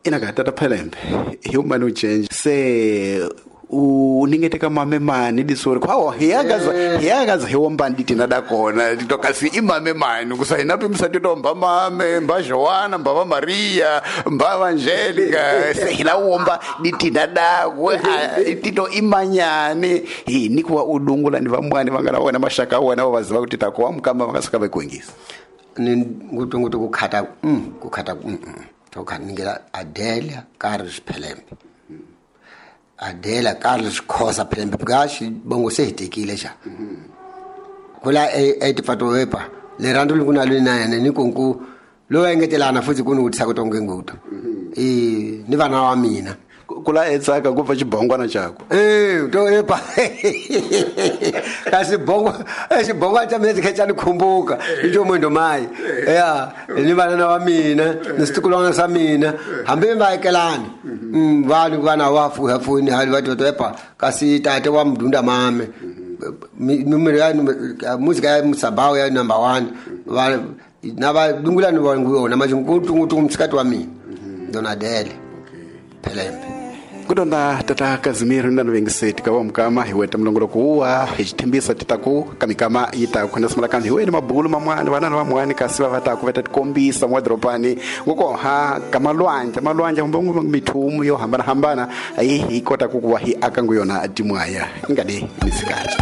Inaka tata Phelembe hi umani uchenje se u ningeteka mame mani disori kwawo hiyagaza hiyagaza hiwombani ditina dakona titokasi imame mani kusa hinapi msatitomba mame mba Joana mba va Maria mba Angelica se hilawomba ditina dakwe tito imanyani hi nikuwa udungula ni vamwani vangana wona mashaka wona vaziva kuti takuwa mukamba vakasuka vekuingisa ni ngutungutu kukhata kukhata tokhaningela Adelia Carlos Phelembe Adela Carlos Khoza Phelembe because bongo se hitekile xa kula e tifato wepa lerando likuna lina ni kunku lo engetelana futhi ku ni vutisa ku tonge nguto i ni vana wa mina. Kula etsaka kupfa xibongwana xako. Eh, to epa kasi bongo xibongo xa mina xi xa ni khumbuka i njomo ndo mai ya ni vana wa mina ni switukulwana swa mina hambi va ekelani vanhu vana wa fuha funi hali va to epa kasi tate wa mdunda mame numero ya muzika ya musabao ya number 1 va na va dungula ni va nguyona manje nkutungutu msikati wa mina Donadele Phelembe. Kudonda tata Kazimiro na vengiseti ka mukama hi weta mulongoloko uwa hi xithembisa titaku ka mikama yi ta khona simula kambe hi wena mabulu mamwani vana na vamwani kasi va va ta ku va ta tikombisa mwa doropani ngoko ha ka malwandla malwandla kumbe mithumu yo hambanahambana hi kota ku kuva hi aka nguyona timwaya ingade misikati.